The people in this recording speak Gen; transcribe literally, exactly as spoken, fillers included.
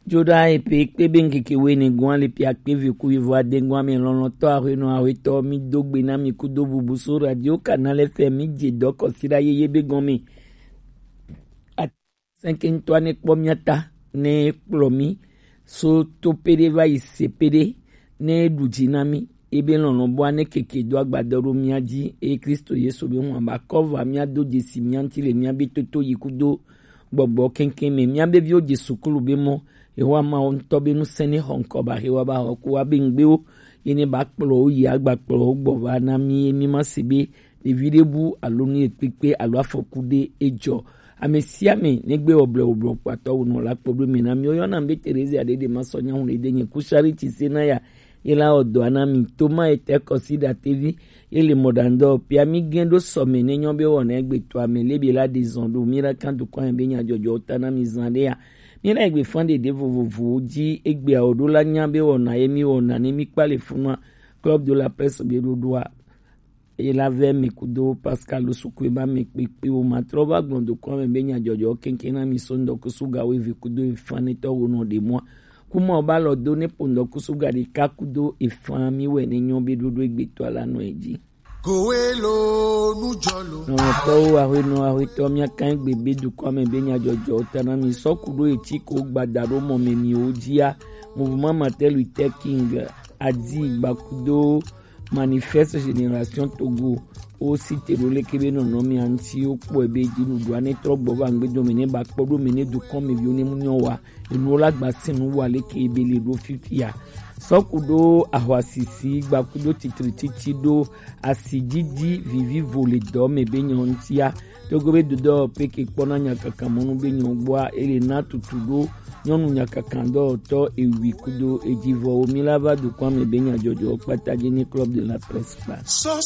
Joɖa epe kpe be ŋkeke woene gɔ̃a le pia kpe ve ku yevu ade gɔ̃a me lɔlɔ̃tɔ ahuenɔ ahuetɔ mi do gbe na mi kudo bubu so radio Canal F M mi je dɔ kɔsiɖa yeye be gɔ̃ me. Sɛnkɛntɔa ne kpɔ mia ta ne kplɔ mi so to peɖe va yi se peɖe ne ɖu dzi na mi ebe lɔlɔ̃ bɔa ne keke do agbadɔ ɖo mia dzi eye Kristo Yesu be hɔn ba kɔ va mia do dzesi mia ŋuti le mia be toto yi kudo gbɔgbɔ kɛnkɛn me. Mia be viwo dze sukulu be mɔ, Yehowa Mawu ŋutɔ be ŋusẽ ne xɔ ŋkɔ ba hewa ba xɔ ku wa be ŋgbewo ye ne ba kplɔ wo yi agba kplɔ wo gbɔ va na mi ye mi ma se be ɖevi ɖe bu alo nu ye kpekpe alo afɔku ɖe edzɔ. Ame sia ame negbe wɔ blɛ wòblɔ kpatɔ wònɔ la kpɔ ɖo me na mi. Woyɔna be Terezia ɖe ɖe ma sɔ nyahu ɖe de nye ku Charity se na ya ye la wɔ dɔa na mi. Toma etɛ kɔsi ɖa tevi ye le mɔɖaŋdɔ pia mi gɛn ɖo sɔme ne nyɔ be wɔna egbe to ame lebe la ɖe zɔn ɖo mi la kan dukɔ ame be nya jɔjɔ ta na mi zan ɖe ya. Mi la egbe fan ɖeɖe vovovowo dzi egbe awo ɖo la nya be wɔna ye mi wɔna ne mi kpa le funua. Club de la Presse be ɖoɖoa Ela vɛ mi kudo Pascal Sukue ba mi kpekpe wo ma trɔ va gbɔn do kɔn mɛ be nya jɔjɔ kɛnkɛn na mi so ŋdɔ kusu ga wo evi kudo efan ne tɔ wo nɔ ɖe mɔa. Kuma wo ba lɔ do ne po ŋdɔ kusu ga ɖeka kudo efan mi wɛ ne nyɔ be ɖoɖo egbe tɔ ala nɔ edzi. Kowe lo nu jɔ lo. Nɔtɔwo ahuenɔ ahuetɔ mia kan egbe be dukɔ mɛ be nya jɔjɔ ta na mi sɔ kudo etsi ko gbada ɖo mɔ mɛ mi wo dzia. Mouvement Martin Luther King adi gbakudo Manifeste Génération Togo wo site ɖo leke be nɔnɔmea ŋuti wo kpɔe be dziɖuɖua ne trɔ gbɔ va ŋgbedo me ne ba kpɔ ɖo me ne dukɔ me viwo ne mu nyɔ wa enuwo la gba se nu wa leke be le ɖo fifia. Sɔku ɖo ahwasisi gbakudo titrititi ɖo asi didi vivivo le dɔ me be nyɔ ŋutia. Togo be dodɔ peke kpɔna nyakaka mɔnu be nyɔ gbɔa ele na tutu ɖo nyɔnu nyakaka dɔwɔtɔ ewi kudo edzivɔwo mi la va dukɔ me be nyadzɔdzɔ kpata dzi ni Club de la Presse kpa.